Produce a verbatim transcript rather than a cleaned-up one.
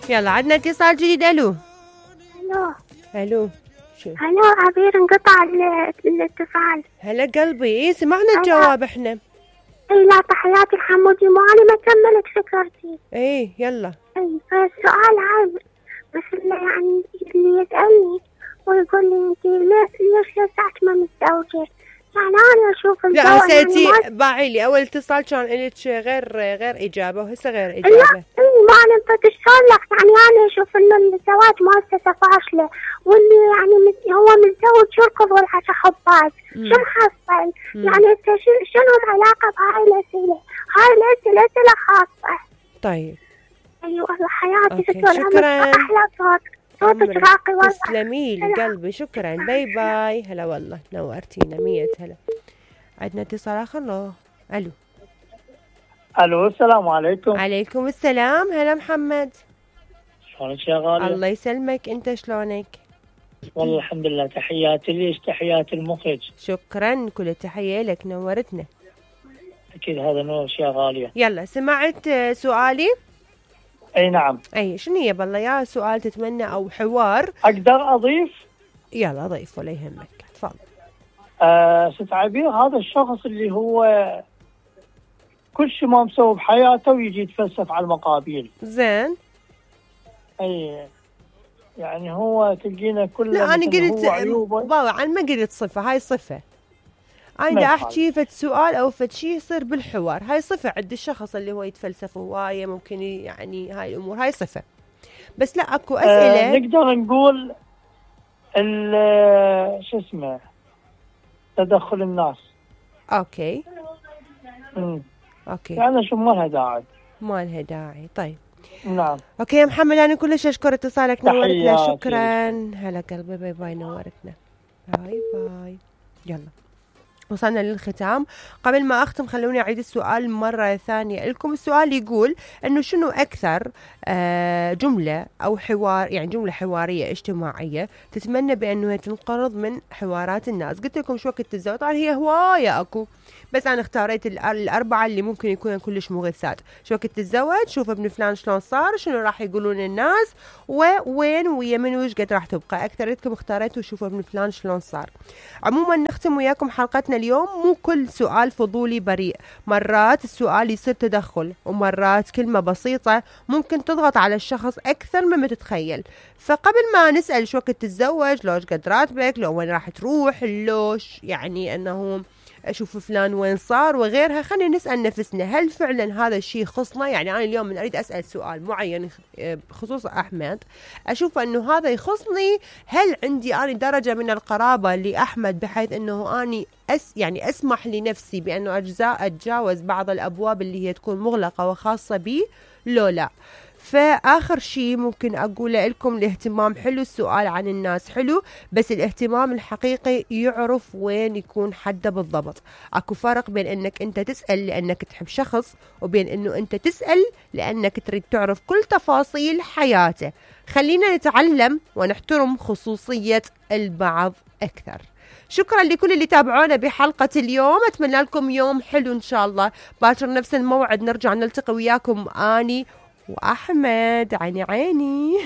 يلا عندنا اتصال جديد. الو الو الو شو الو عبير، انقطع ال- الاتصال. هلا قلبي. ايه سمعنا الجواب احنا. اي لا، تحياتي الحمودي، مو انا ما كملت فكرتي. ايه يلا. اي فالسؤال هاي بس اللي يعني اللي يسألني ويقول لي انت ليش ليش لساعة ما متزوجة؟ يعني انا اشوف لا الزواج هسه يعني انتي باعي لي اول اتصال كان لك غير غير اجابه وهسه غير لا اجابه. اي ما انا بدي شلون لك، يعني انا اشوف انه الزواج مؤسسة فاشلة، واللي يعني مت- هو متزوج يركض والحكى حباز، شو محصل؟ يعني انت شو- شنو علاقة بهاي الاسئلة؟ هاي الاسئلة اسئلة خاصة. طيب اي والله حياتي أوكي، ستور شكراً. احلى صوت، صوتك عمرك. راقي والله. تسلمي لي قلبي، شكرا، باي باي. هلا والله نورتينا مية هلا. عندنا اتصال اخر. لو الو الو السلام عليكم. عليكم السلام. هلا محمد. شلونك يا غالية؟ الله يسلمك، انت شلونك؟ والله الحمد لله. تحياتي ليش تحياتي المخرج. شكرا، كل التحية لك، نورتنا. اكيد هذا نورش يا غالية. يلا سمعت آه، سؤالي؟ اي نعم. اي شنو هي بالله؟ يا سؤال تتمنى او حوار؟ اقدر اضيف؟ يلا ضيف ولا يهمك، تفضل. آه ست عبير، هذا الشخص اللي هو كل شيء ما مسوي بحياته ويجي يتفلسف على المقابيل. زين. اي يعني هو تلقينا كله لا انا قلت عيوبه. بابا انا ما قلت صفه، هاي صفه. انا دا احكي فد سؤال او فد شيء يصير بالحوار، هاي صفه عند الشخص اللي هو يتفلسف هوايه، ممكن يعني هاي الامور، هاي صفه. بس لا اكو اسئله. آه نقدر نقول ال- شو اسمه تدخل الناس. اوكي امم اوكي يعني شو ما لها داعي. ما لها داعي. طيب نعم. اوكي يا محمد، انا كلش اشكر اتصالك، نورتنا. تحياتي. شكرا. هلا قلبي، باي باي، نورتنا. باي باي. يلا وصلنا للختام. قبل ما أختم خلوني أعيد السؤال مرة ثانية لكم. السؤال يقول أنه شنو أكثر آه جملة أو حوار، يعني جملة حوارية اجتماعية تتمنى بأنه تنقرض من حوارات الناس؟ قلت لكم شو وقت التزوج، طبعا هي هواية أكو، بس أنا اختاريت الأربعة اللي ممكن يكونوا كلش مغثات. شو وقت تتزوج، شوف ابن فلان شلون صار، شنو راح يقولون الناس، ووين ويا من وش قد راح تبقى. أكثرتكم اختاريتوا شوفوا ابن فلان شلون صار. عموما نختم وياكم حلقتنا اليوم. مو كل سؤال فضولي بريء، مرات السؤال يصير تدخل، ومرات كلمة بسيطة ممكن تضغط على الشخص أكثر مما تتخيل. فقبل ما نسأل شو وقت تتزوج، لوش قد راتبك، لو وين راح تروح، لوش يعني أنه أشوف فلان وين صار وغيرها، خلينا نسأل نفسنا هل فعلا هذا الشيء يخصنا؟ يعني أنا اليوم من أريد أسأل سؤال معين بخصوص أحمد، أشوف أنه هذا يخصني، هل عندي أنا درجة من القرابة لأحمد بحيث أنه أني أس يعني أسمح لنفسي بأنه أجزاء أتجاوز بعض الأبواب اللي هي تكون مغلقة وخاصة بي، لو لا. فآخر شيء ممكن أقوله لكم، الاهتمام حلو، السؤال عن الناس حلو، بس الاهتمام الحقيقي يعرف وين يكون حده بالضبط. أكو فرق بين أنك أنت تسأل لأنك تحب شخص، وبين أنه أنت تسأل لأنك تريد تعرف كل تفاصيل حياته. خلينا نتعلم ونحترم خصوصية البعض أكثر. شكرا لكل اللي تابعونا بحلقة اليوم، أتمنى لكم يوم حلو إن شاء الله. باكر نفس الموعد نرجع نلتقي وياكم، آني وأحمد، عيني عيني.